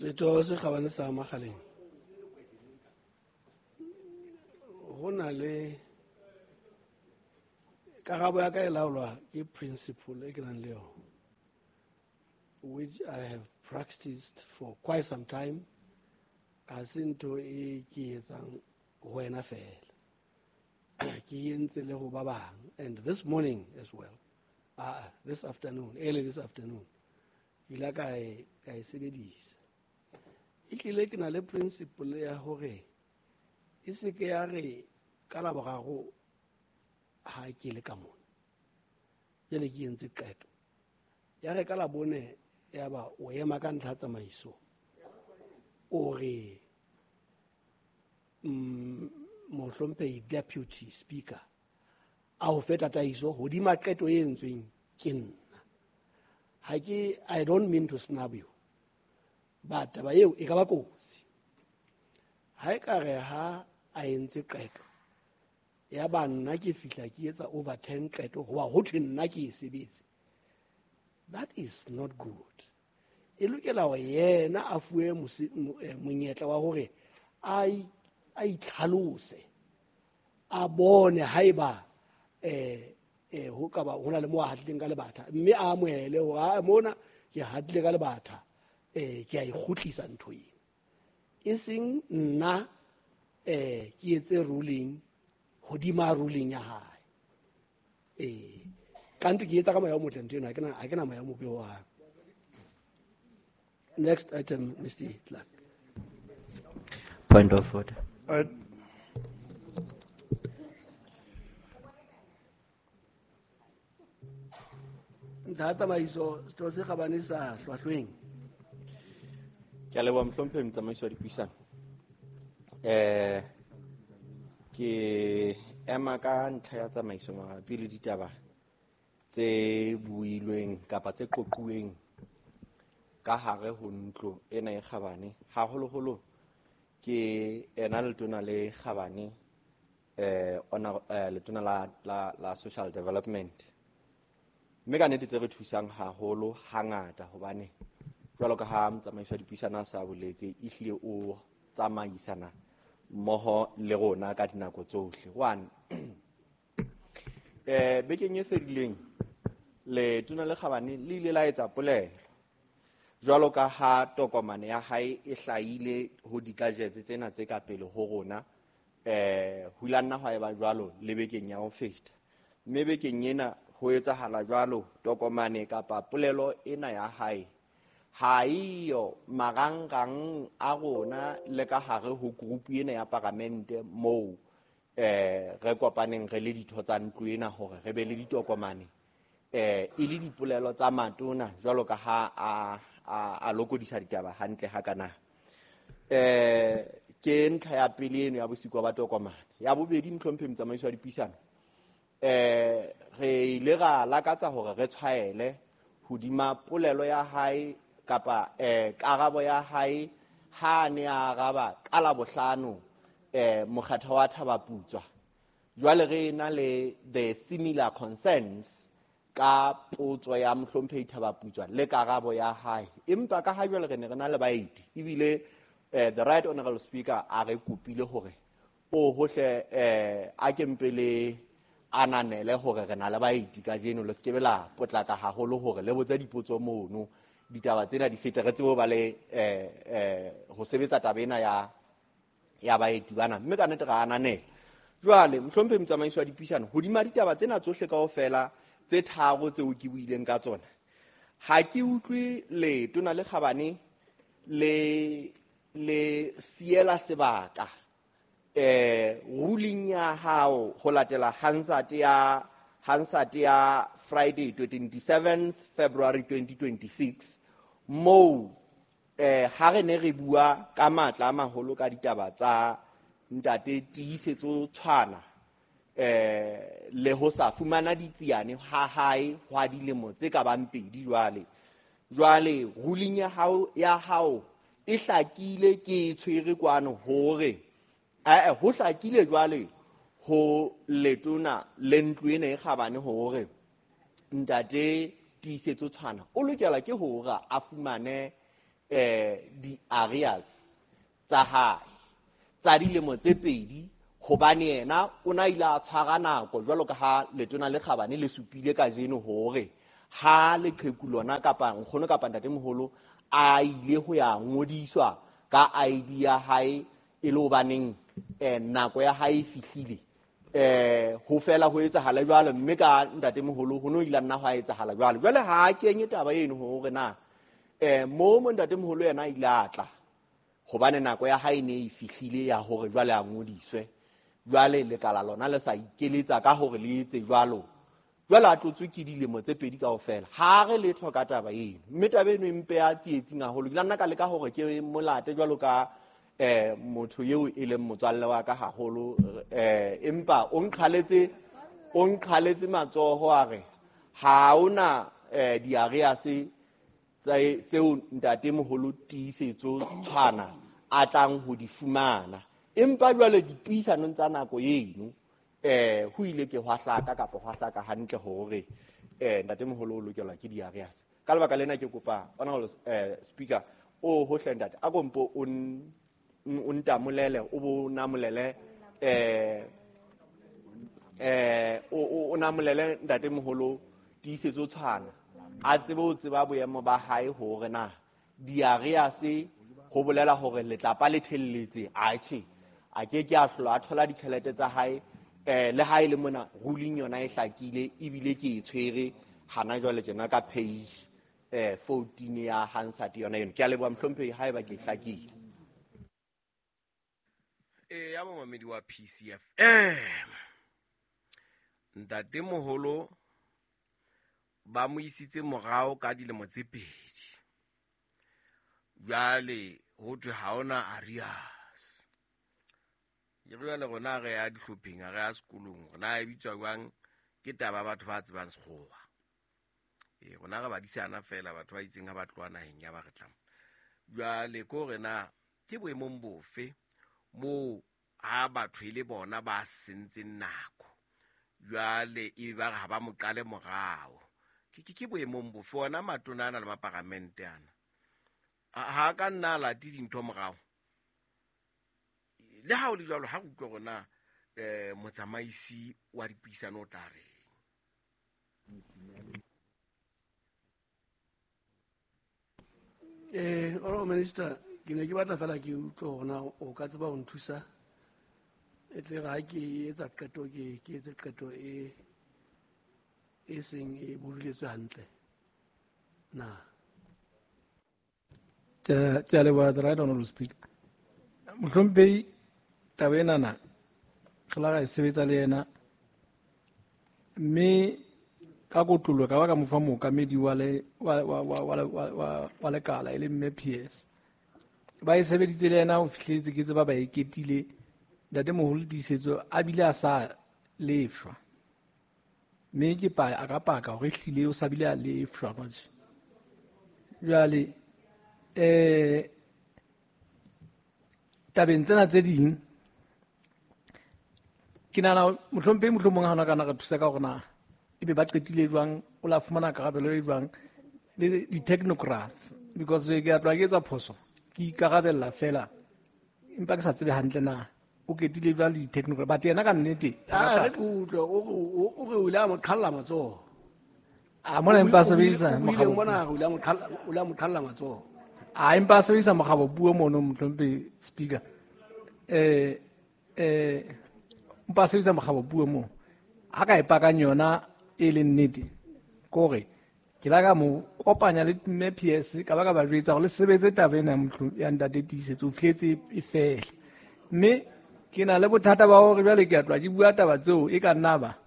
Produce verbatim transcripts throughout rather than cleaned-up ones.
Setho se kgabane sa Makgaleng, ho na le karabo ya ka e laolwa ke principle e ke nang le yona, which I have practiced for quite some time. Ha se ntho e ke etsang ho wena fela, ke entse le ho ba bang, and this morning as well, ah, this afternoon, early this afternoon, ke ile ka e, ka e sebedisa. E tlile ke na le principle ya hore e se ke ya re ka Laboraro ha ke le ka mona, jwale ke entse qeto ya re ka Labone ya ba o ema ka ntlha tsamaiso, o re mm, mohlomphehi deputy speaker a ho fe tataiso hodima qeto e entsweng ke nna. Ha ke, I don't mean to snub you, but taba eo e ka ba kotsi. Ha e ka re ha a entse qeto ya ba nna ke fihla ke etsa overturn qeto hoba ho thwe nna ke e sebetse, that is not good. E lokela hore yena a fuwe monyetla wa hore a a itlhalose, a bone haeba eh eh ho ka ba hona le mo a hatlileng ka lebatha, mme a amohele hore ha mona ke hatlile ka lebatha, eh ke a ikgutlisa ntho ena, e seng nna eh ke etse ruling hodima ruling ya hae. Eh kanti ke etsa ka moya o motle ntho ena, ha ke na ha ke na moya o mobe ho hang. Next item, Mister Clark. Point of order. Uh, Ntlha tsamaiso, setho se kgabane sa Hlwahlweng. Ke a leboha mohlomphehi motsamaisi wa dipuisano. Eh, ke ema ka ntlha ya tsamaiso mabapi le ditaba tse builweng kapa tse qoquweng ka hare ho ntlo ena e kgabane. Haholoholo ke ena letona le kgabane, eh, ona, eh, letona la, la, la social development. Mme ka nnete tse re thusang haholo hangata, hobane jwalo ka ha motsamaisi wa dipuisano a sa boletse, ehlile o tsamaisana mmoho le rona ka dinako tsohle. One, eh, bekeng e fedileng letona le kgabane le ile la etsa polelo jwalo ka ha tokomane ya hae e hlahile ho dikajetse tsena tse ka pele ho rona, eh, ho ile ha nna hwa eba jwalo le bekeng ya ho feta. Mme bekeng ena ho etsahala jwalo, tokomane kapa polelo ena ya hae ha eyo marangrang a rona le ka hare ho group ena ya paramente moo, eh, re kopaneng re le ditho tsa ntlo ena hore re be le ditokomane, eh, e le dipolelo tsa matona jwalo ka ha a, a, a lokodisa ditaba hantle hakana. Eh, ke ntlha ya pele eno ya bosiko ba tokomane. Ya bobedi, mohlomphehi motsamaisi wa dipuisano, eh, re ile ra lakatsa hore re tshwaele hodima polelo ya hae kapa, eh, karabo ya hae ha ne a araba ka Labohlano, eh, mokgatho wa Thabaputswa. Jwale re na le the similar concerns ka potso ya mohlomphehi Thabaputswa le karabo ya hae. Empa ka ha jwale re ne re na le baeti, ebile, eh, the right honorable speaker a re kopile hore o hohle, eh, a ke mpe le ananele hore re na le baeti kajeno, le se ke be la potlaka haholo hore le botse dipotso mono, ditaba tsena di fete, re tsebe ho ba le, eh, eh, ho sebetsa taba ena ya, ya baeti bana. Mme ka nnete ra ananela. Jwale mohlomphehi motsamaisi wa dipuisano, hodima ditaba tsena tsohle kaofela tse tharo tseo ke buileng ka tsona, ha ke utlwe letona le kgabane le, le siela sebaka, eh, ruling ya hao ho latela Hansard ya, Hansard ya Friday twenty-seventh February twenty twenty-six, moo, eh, ha re ne re bua ka matla a maholo ka ditaba tsa ntate Tiisetso Tshwana, eh, le ho sa fumana ditsiane ha hae hwa dilemo tse ka bang pedi jwale. Jwale ruling ya hao, ya hao e hlakile, ke e tshwere kwano hore, eh, eh, ho hlakile jwale ho letona le ntlo ena e kgabane hore ntate Tiisetso Tshwana o lokela ke hore a fumane, eh di-arrears tsa hae tsa dilemo tse pedi, hobane yena o na ile a tshwara nako jwalo ka ha letona le kgabane le supile kajeno hore ha leqheku lona kapa nkgono kapa ntatemoholo a ile ho ya ngodiswa ka I D ya hae e le hobaneng eh nako ya hae e fihlile, eh ho fela ho etsahala jwalo, mme ka ntatemoholo ho no ile nna ho etsahala jwalo. Jwale ha a kenye taba eno hore na eh mo mo ntatemoholo yena ile a tla hobane nako ya hae ne e fihlile ya hore jwale a ngodiswe, jwale lekala lona le sa ikeletsa ka hore le etse jwalo, jwale a tlotswe ke dilemo tse pedi kaofela. Ha re letho ka taba eno, mme taba eno e mpe ya tsietsing haholo. Ke la nna ka leka hore ke molate jwalo ka eh motho eo e leng motswalle wa ka haholo, eh empa o nqhaletse o nqhaletse matsoho a re ha ona eh diarreas tse tseo ntatemoholo Tiisetso Tshwana a tlang ho di fumana. Empa jwale dipuisanong tsa nako eno eh ho ile ke hwa hlaka kapa hwa hlaka hantle hore eh ntatemoholo o lokelwa ke diarreas. Ka lebaka lena ke kopa honorable eh speaker o hohle ntate a kompo o o ntamolele o bo namolele eh eh o o namolele ntatemoholo Tiisetso Tshwana a tsebe ho tseba boemo ba hae hore na diarreas ho bolela hore letlapa le thelletse atjhe a ke ke a hlola a thola ditjhelete tsa hae eh le hae le mona ruling yona e hlakile ebile ke e tshwere hana jwale tjena ka page eh fourteen ya Hansard yona eno. Ke a leboha mohlomphehi haeba ke hlakile. E ya momamedi wa P C F M, ntatemoholo ba mo isitse morao ka dilemo tse pedi, jwale ho thwe ha ona arrears. Ke jwale rona re ya dihlopheng, re ya sekolong, rona e bitswa jwang ke taba ya batho ba tsebang sekgowa. E rona re badisana fela batho ba itseng ha ba tloha naheng ya ba re tlang. Jwale ko re na ke boemong bofe moo ha batho e le bona ba sentseng nako, jwale e ba re ha ba mo qale morao. Ke ke boemong bofe ona matona ana le maparamente ana ha ka nna late dintho morao? Le ha o le jwalo ha re utlwe rona eh motsamaisi wa dipuisano o tla reng. Eh honorable minister, ke ne ke batla fela ke utlwe hore na o ka tseba ho nthusa e tle ha ke etsa qeto ke ke etse qeto e e seng e boduletswe hantle na. Ke a leboha the right honorable speaker. Mohlomphehi, taba enana re la ra e sebetsa le yena, mme ka kotlolo ka ba ka mo fa mookamedi wa le wa wa wa wa wa lekala e le mme P S. Ba e sebeditse le yena ho fihletse ke tseba ba e ketile ntatemoholo Tiisetso a bile a sa lefshwa, mme ke pa a ka paka hore ehlile o sa bile a lefshwa manje. Jwale eh tabeng tsena tse ding ke nahana mohlomphehi mohlomong ha ona kana re thusa ka hore na ebe ba qetile jwang, o la fumana karabelo e jwang le di-technocrats, because ke a tloha ke etsa phoso ke ikarabella fela empa ke sa tsebe hantle na o ketile jwang le di-technocrats. But yena ka nnete a re ke utlwe o re o ile a mo qhalla matsoho. A mona empa a sebedisa mokgabo mona o ile a mo qhalla o ile a mo qhalla matsoho. A empa a sebedisa mokgabo puo mono mohlomphehi speaker. Eh eh empa a sebedisa mokgabo puo mo ha ka e pakang yona e leng nnete kore ke la ka mo kopanya le mme P S ka ba ka ba jwetsa hore le sebetse taba ena ya ntate Tiisetso o fihletse e fela. Mme ke na le bothata ba hore jwale ke a tloha ke bua taba tseo e ka nna ba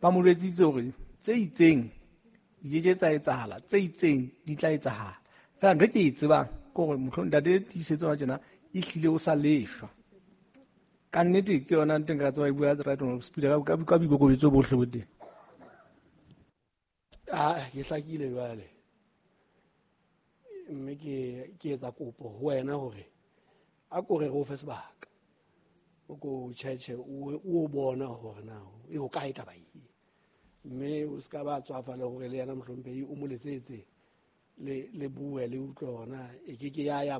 ba mo jwetsitse hore tse itseng di ke ke tsa etsahala, tse itseng di tla etsahala. Fela ntho e ke e tsebang ke hore mohlomong ntate Tiisetso wa tjena e hlile o sa leshwa. Ka nnete ke yona ntho e nka tseba e bua right honorable speaker ka ka boikokobetso bohle bo teng. Ah, ke hlakile jwale, mme ke ke etsa kopo ho wena hore a ko re re o fe sebaka o ko tjhetjhe o o bona hore na e ho kae taba e, mme o ska ba tswafa le hore le yena mohlomphehi o mo letsetse Le le bue le utlwe hore na e ke ke ya ya.